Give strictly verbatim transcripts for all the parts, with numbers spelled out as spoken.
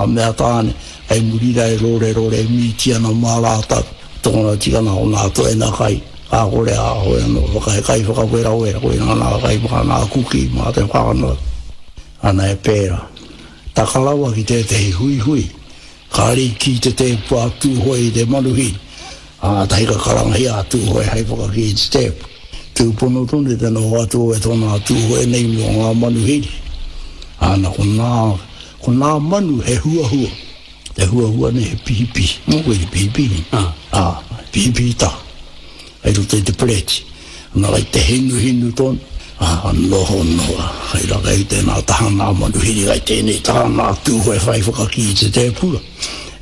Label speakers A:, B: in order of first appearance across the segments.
A: nā mea tāne, hei muri rā e rore rore e mīti ana mā rātou. Tōna tikanga o nā toena kai, ka kore a hoi anō, whakahe kai whakawerawera, koina nā kai mā nā kuki mā te whānau. Ana e pērā. Taka rawa ki tētehi huihui, ka riki te tēpu a Tūhoe i te manuhiri, ā, tahi ka karangahia a Tūhoe hei whakakī i te tēpu. Tūpono tonu te noho atu o tōna Tūhoe nei mō ngā manuhiri. Ana, ko nā, ko nā manu he huahua. Te huahua nei he pihipihi. Mō koe te pihipihi. Ah. Ah, pihipihi tā. Hei roto i te pereti. Ana kai te hinuhinu tonu. Ah, noho noa. Hei raka i tēnā taha nā manuhiri, kai tēnei taha nā Tūhoe whai whakakī i te tēpura.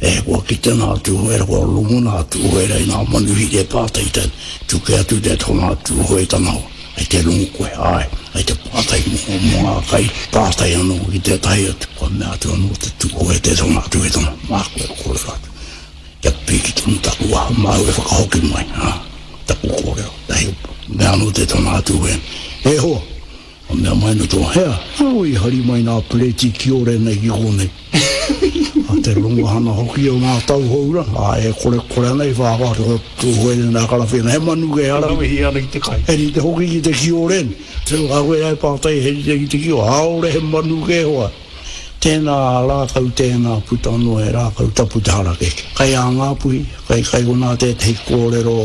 A: E, kua kite nā Tūhoe, kua rongo nā Tūhoe i nā manuhiri e pātai te tuke atu te tōnā Tūhoe tana hoa. Hei te rongo koe, ai, hei te pātai mō, mō ngā kai, pātai anō ki tētahi atu. Kua mea atu anō te Tūhoe te tōnā Tūhoe tana, mā koe kōrero atu. Kia piki tonu taku waha, māu e whakahoki mai, ha, taku kōrero. Tahi, mea anō te tōnā Tūhoe. E hoa, a mea mai no tō hea, au i hari mai nā pereti kiore nei ki kōnei. A te rongohana hoki o ngā tauhou rā, a e kore kore ana i whāwhā te Tūhoe nā karawhena, he manu kei ara.
B: Wehi ana ki te kai.
A: He rite hoki ki te kiore. Te ka koe ai pātai he rite ki te kiore, aore he manu kei hoa. Tēnā rākau, tēnā puta noa he rākau tapu te harakeke. Kai a Ngāpuhi, kai kai konā tētehi kōrero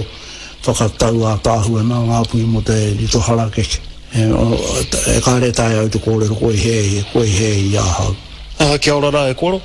A: whakatau ātaahua nā Ngāpuhi mō te rito harakeke. E, e kāre tae au te kōrero koe he, koe he i ahau.
B: Ah, kia ora rā e koro.